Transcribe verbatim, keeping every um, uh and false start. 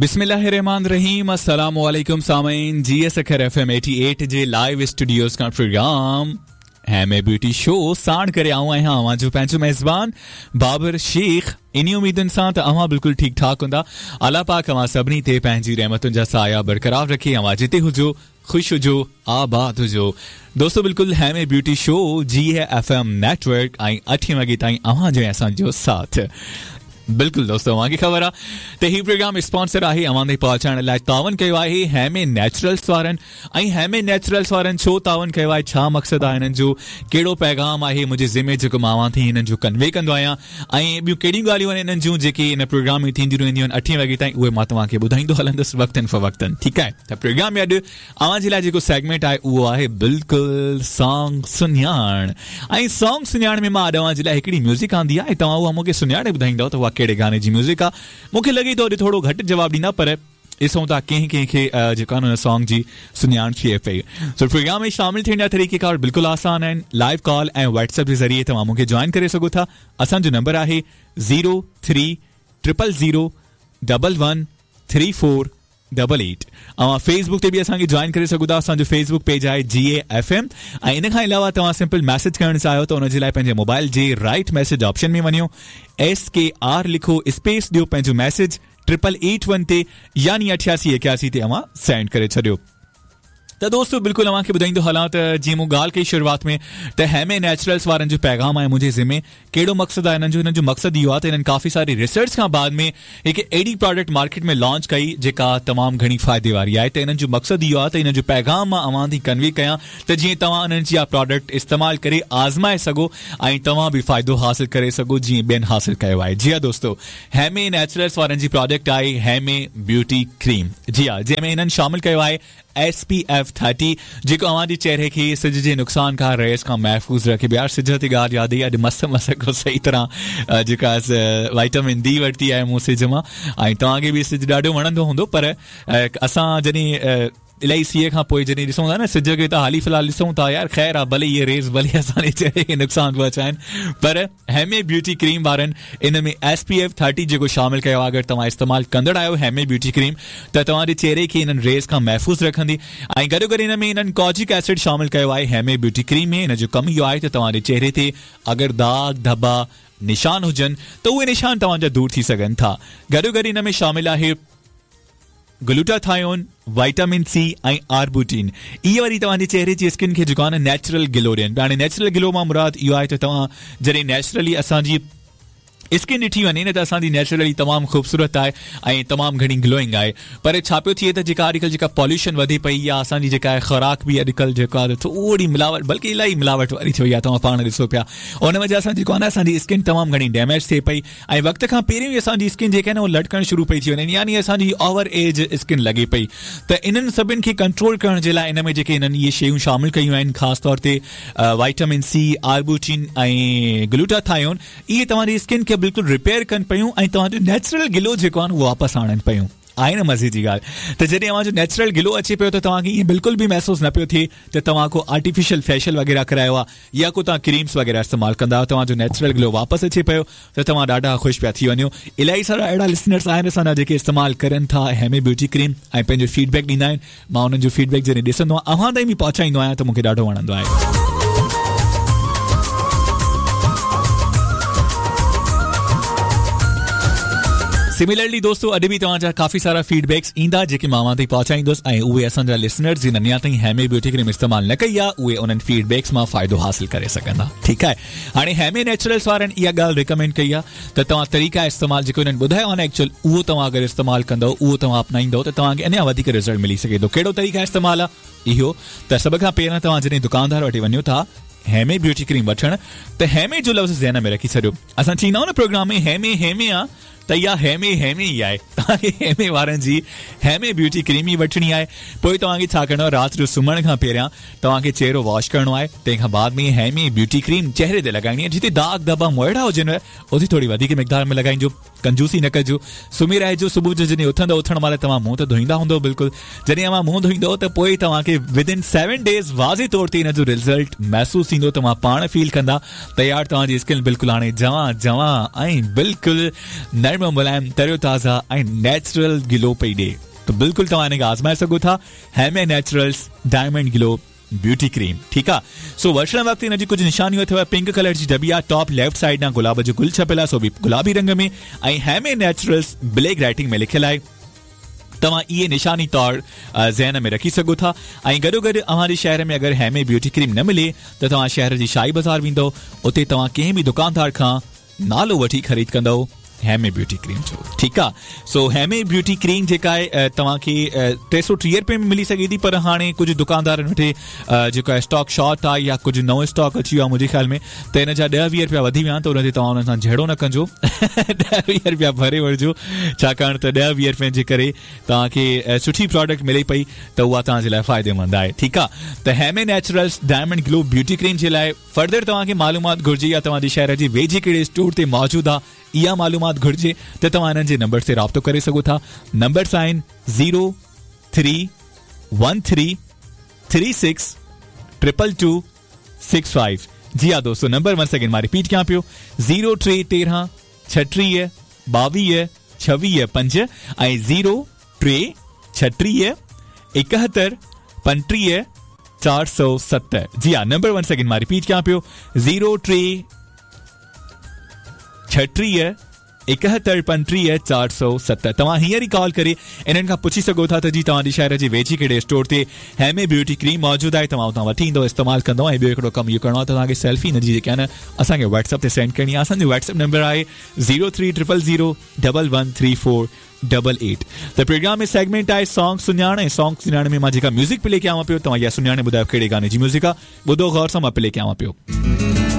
बिस्मिल्लाहिर्रहमानिर्रहीम। अस्सलाम वालेकुम सामीन, जी सखर एफ एम अठासी जे लाइव स्टूडियोज का प्रोग्राम हैमे ब्यूटी शो साण करे आऊं आहियां अव्हां जो पंहिंजो मेज़बान बाबर शेख। इन्ही उम्मीदुनि सां त अव्हां बिल्कुलु ठीक ठाक हूंदा। अलाह पाक अव्हां सभिनी ते पंहिंजी रहमतुनि जा साया बरक़रार रखे। अव्हां जिते हुजो खुश हुजो आबाद हुजो। दोस्तों बिल्कुलु हैमे ब्यूटी शो जी है एफ एम नेटवर्क ऐं अठें वॻे ताईं अव्हां जो ऐं असांजो साथ। बिल्कुलु दोस्तों अव्हांखे ख़बर आहे त हीउ प्रोग्राम स्पॉन्सर आहे अव्हां ताईं पहुचाइण लाइ तावन कयो आहे हैमे नेचुरल्स वारनि। ऐं हैमे नेचुरल्स वारनि छो तावन कयो आहे, छा मक़सदु आहे हिननि जो, कहिड़ो पैगाम आहे मुंहिंजे ज़िमे जेको मां अव्हां ताईं हिननि जो कन्वे कंदो आहियां ऐं ॿियूं कहिड़ियूं ॻाल्हियूं आहिनि हिननि जूं जेके हिन प्रोग्राम में थींदियूं रहंदियूं आहिनि अठें वॻे ताईं, उहे मां तव्हांखे ॿुधाईंदो हलंदुसि वक़्तनि फ़वक़्तनि। ठीकु आहे, त प्रोग्राम में अॼु अव्हां जे लाइ जेको सेगमेंट आहे उहो आहे बिल्कुलु सॉन्ग सुञाण। ऐं सॉन्ग सुञाण में मां अॼु अव्हां जे लाइ हिकिड़ी म्यूज़िक आंदी आहे, तव्हां उहा मूंखे सुञाणे ॿुधाईंदव त उहा कहिड़े गाने जी म्यूज़िक आहे। मूंखे लॻे थो अॼु थोरो घटि जवाबु ॾींदा, पर ॾिसूं था कंहिं कंहिंखे जेको आहे हुन सॉन्ग जी सुञाण थिए पई। सो प्रोग्राम में शामिल थियण जा तरीक़ेकार बिल्कुलु आसान आहिनि। लाइव कॉल ऐं व्हाट्सएप जे ज़रिए तव्हां मूंखे जॉइन करे सघो था। असांजो नंबर आहे zero three triple zero double one three four double eight. अव्हां फेसबुक ते बि असांखे जॉइन करे सघो था। असांजो फेसबुक पेज आहे जी ए एफ एम। ऐं इन खां अलावा तव्हां सिंपल मैसेज करणु चाहियो त उनजे लाइ पंहिंजे मोबाइल जे राइट मैसेज ऑप्शन में वञो, एस के are लिखो, स्पेस ॾियो पंहिंजो मैसेज ट्रिपल एट वन ते यानी अठासी एकासी ते अव्हां सेंड करे छॾियो। त दोस्तों बिल्कुलु अव्हांखे ॿुधाईंदो हलां त जीअं मूं ॻाल्हि कई शुरूआत में त हैमे नेचुरल्स वारनि जो पैगाम आहे मुंहिंजे ज़िमे। कहिड़ो मक़सदु आहे हिननि जो? हिननि जो मक़सदु इहो आहे त हिननि काफ़ी सारी रिसर्च खां बाद में हिकु अहिड़ी प्रोडक्ट मार्केट में लॉन्च कई जेका तमामु घणी फ़ाइदे वारी आहे। त हिननि जो मक़सदु इहो आहे त हिननि जो पैगाम मां अव्हां ताईं कन्वे कयां त जीअं तव्हां उन्हनि जी इहा प्रोडक्ट इस्तेमालु करे आज़माए सघो ऐं तव्हां बि फ़ाइदो हासिल करे सघो जीअं ॿियनि हासिल कयो आहे। जी हा दोस्तों, हैमे नेचुरल्स वारनि जी प्रोडक्ट आहे हैमे ब्यूटी क्रीम। जी हा, जंहिंमें हिननि शामिलु कयो आहे एस पी एफ थर्टी जेको अव्हांजे चेहरे खे सिज जे नुक़सान खां रेस खां महफ़ूज़ रखे। यार सिज ते ॻाल्हि यादि आई, अॼु मस मस को सही तरह जेका वाइटामिन डी वरिती आहे मूं सिज मां। ऐं तव्हांखे बि सिज ॾाढो वणंदो हूंदो, पर असां जॾहिं इलाही सीअ खां पोइ जॾहिं ॾिसूं था न सिज खे त हाली फ़िलहाल ॾिसूं था यार ख़ैर आहे, भले इहे रेस भले असांजे चेहरे खे नुक़सानु पहुचाइनि, पर हैमे ब्यूटी क्रीम वारनि इन में एस पी एफ थर्टी जेको शामिलु कयो आहे। अगरि तव्हां इस्तेमालु कंदड़ आहियो हैमे ब्यूटी क्रीम त तव्हांजे चेहरे खे इन्हनि रेस खां महफ़ूज़ रखंदी। ऐं गॾो गॾु इन में इन्हनि कॉजिक एसिड शामिलु कयो आहे हैमे ब्यूटी क्रीम में। हिन जो कमु इहो आहे त तव्हांजे चेहरे ते अगरि दाग़ धब्बा निशान हुजनि त उहे निशान तव्हांजा दूर थी सघनि था। गॾो गॾु इन में शामिलु आहे ग्लूटाथायोन, वाइटामिन सी ऐं आर्बुटीन। इहे वरी तव्हांजे चेहरे जी स्किन खे जेको आहे न नेचुरल ग्लो ॾियनि पिया। हाणे नेचुरल ग्लो मां मुराद इहो आहे त तव्हां जॾहिं नेचुरली असांजी स्किन ॾिठी वञे न त असांजी नेचुरली तमामु ख़ूबसूरत आहे ऐं तमामु घणी ग्लोइंग आहे। पर छा पियो थिए त जेका अॼुकल्ह जेका पॉल्यूशन वधे पई या असांजी जेका आहे ख़ुराक बि अॼुकल्ह जेको आहे थोरी मिलावट, बल्कि इलाही मिलावट वारी थी वई आहे, तव्हां पाण ॾिसो पिया। उन वजह सां जेको आहे न असांजी स्किन तमामु घणी डैमेज थिए पई ऐं वक़्त खां पहिरियों ई असांजी स्किन जेका आहे न उहा लटकणु शुरू पई थी वञे, यानी असांजी ओवर एज स्किन लॻे पई। त इन्हनि सभिनि खे कंट्रोल करण जे लाइ इन में जेके हिननि इहे शयूं शामिलु कयूं आहिनि, ख़ासि तौर ते वाइटामिन सी, आर्बुटीन ऐं ग्लूटाथायोन, इहे तव्हांजी स्किन खे बिल्कुलु रिपेयर कनि पियूं ऐं तव्हांजो नेचुरल ग्लो जेको आहे उहो वापसि आणनि पियूं। आहे न मज़े जी ॻाल्हि। त जॾहिं तव्हांजो नेचुरल ग्लो अचे पियो त तव्हांखे ईअं बिल्कुलु बि महसूसु न पियो थिए त तव्हां को आर्टिफिशियल फेशियल वग़ैरह करायो आहे या को तव्हां क्रीम्स वग़ैरह इस्तेमालु कंदा आहियो। तव्हांजो नेचुरल ग्लो वापसि अचे पियो त तव्हां ॾाढा ख़ुशि पिया थी वञो। इलाही सारा अहिड़ा लिसनर्स आहिनि असांजा जेके इस्तेमालु करनि था हैमे ब्यूटी क्रीम ऐं पंहिंजो फीडबैक ॾींदा आहिनि। मां उन्हनि जो फीडबैक जॾहिं ॾिसंदो आहियां अव्हां ताईं बि पहुचाईंदो आहियां त मूंखे ॾाढो वणंदो आहे। सिमिलरली दोस्तों अॼु बि तव्हांजा काफ़ी सारा फीडबैक्स ईंदा जेके मां अव्हां ताईं पहुचाईंदुसि ऐं उहे असांजा लिसनर्स जिन अञा ताईं हैमे ब्यूटी क्रीम इस्तेमालु न कई आहे उहे उन्हनि फीडबैक्स मां फ़ाइदो हासिल करे सघंदा। ठीकु आहे, हाणे हैमे नेचुरल्स वारनि इहा ॻाल्हि रिकमेंड कई आहे त तव्हां तरीक़ा इस्तेमालु जेको हिननि ॿुधायो आहे न एक्चुअल उहो तव्हां अगरि इस्तेमालु कंदव, उहो तव्हां अपनाईंदव त तव्हांखे अञा वधीक रिज़ल्ट मिली सघे थो। कहिड़ो तरीक़ा इस्तेमालु आहे इहो त सभ खां पहिरियां तव्हां जॾहिं दुकानदार वटि वञो था हैमे ब्यूटी क्रीम वठणु त हैमे जो लफ़्ज़ ज़हन में रखी छॾियो। असां चईंदा आहियूं न प्रोग्राम में हैमे हैमे आहे त इहा हैमे हैमे ई आहे। तव्हांखे हैमे वारनि जी हैमे ब्यूटी क्रीम ई वठिणी आहे। पोइ तव्हांखे छा करिणो आहे, राति जो सुम्हण खां पहिरियां तव्हांखे चेहरो वॉश करिणो आहे, तंहिंखां बाद में हैमे ब्यूटी क्रीम चेहरे ते लॻाइणी आहे। जिते दाग़ धब्बा मोइड़ा हुजनि उते थोरी वधीक मिक़दार में लॻाइजो। कंजूसी न कजो, सुम्ही रहिजो। सुबुह जो जॾहिं उथंदव, उथण महिल तव्हां मुंहुं त धोईंदा हूंदव बिल्कुलु, जॾहिं तव्हां मुंहुं धोईंदव त पोइ तव्हांखे विद इन सेवन डेज़ वाज़े तौर ते हिन जो रिज़ल्ट महसूसु थींदो। तव्हां पाण फील कंदा त यार तव्हांजी स्किन बिल्कुलु हाणे जवां जवां ऐं बिल्कुलु नरम मुलाइम, तरो ताज़ा ऐं नेचुरल ग्लो पई ॾिए। त बिल्कुलु तव्हां हिनखे आज़माए सघो था, Heme naturals diamond glow beauty cream. ठीकु आहे। सो वठण वक़्तु हिन जी कुझु निशानियूं अथव। पिंक कलर जी डबी आहे, टॉप लेफ्ट साइड ॾांहुं गुलाब जो गुल छपियल आहे, सो बि गुलाबी रंग में, ऐं हेमे नेचुरल्स ब्लैक राइटिंग में लिखियलु आहे। तव्हां इहे निशानी तौर ज़हन में रखी सघो था। ऐं गॾोगॾु अव्हां जे शहर में अगरि हेमे ब्यूटी क्रीम न मिले त तव्हां शहर जी शाही बाज़ार वेंदव, उते तव्हां कंहिं बि दुकानदार खां नालो वठी ख़रीद कंदव हेमे ब्यूटी क्रीम जो। ठीकु आहे। सो हेमे ब्यूटी क्रीम जेका आहे तव्हांखे टे सौ टीह रुपए में मिली सघे थी, पर हाणे कुझु दुकानदारनि वटि जेको आहे स्टॉक शॉर्ट आहे या कुझु नओं स्टॉक अची वियो आहे मुंहिंजे ख़्याल में, त हिन जा ॾह वीह रुपया वधी विया आहिनि, त उन ते तव्हां हुन सां झेड़ो न कजो, ॾह वीह रुपया भरे वठिजो, छाकाणि त ॾह वीह रुपयनि जे करे तव्हांखे सुठी प्रोडक्ट मिले पई त उहा तव्हांजे लाइ फ़ाइदेमंद आहे। ठीकु आहे। त Heme naturals diamond glow beauty cream जे लाइ फर्दर तव्हांखे मालूमात घुर्जे या तव्हांजे शहर जे वेझे कहिड़े स्टोर ते मौजूदु आहे इहा मालूमात घुर्जे त तव्हां हिननि जे नंबर ते राब्तो करे सघो था। नंबर्स आहिनि zero three one three three six triple two six five. जी हा दोस्तों, नंबर वन सेकेंड मां रिपीट कयां पियो, ज़ीरो टे तेरहं छटीह ॿावीह छवीह पंज ऐं ज़ीरो टे छटीह एकहतरि पंटीह चारि सौ सतरि। जी हा, नंबर वन सेकेंड मां रिपीट कयां पियो, ज़ीरो टे छटीह एकहतरि पंटीह चारि सौ सतरि। तव्हां हींअर ई कॉल करे इन्हनि खां पुछी सघो था त जी तव्हांजे शहर जे वेझी कहिड़े स्टोर ते हेमे ब्यूटी क्रीम मौजूदु आहे, तव्हां उतां वठी ईंदव, इस्तेमालु कंदव। ऐं ॿियो हिकिड़ो कमु इहो करिणो आहे त तव्हांखे सेल्फी हिन जी जेका आहे न असांखे व्हाट्सएप ते सेंड करणी आहे। असांजो व्हाट्सएप नंबर आहे zero three triple zero double one three four double eight. त प्रोग्राम में सेगमेंट आहे सॉन्ग सुञाण, ऐं सॉन्ग सुञाण में मां जेका म्यूज़िक प्ले कयां पियो, तव्हां इहा सुञाणे ॿुधायो कहिड़े गाने जी म्यूज़िक आहे। ॿुधो ग़ौर सां, मां प्ले कयां पियो।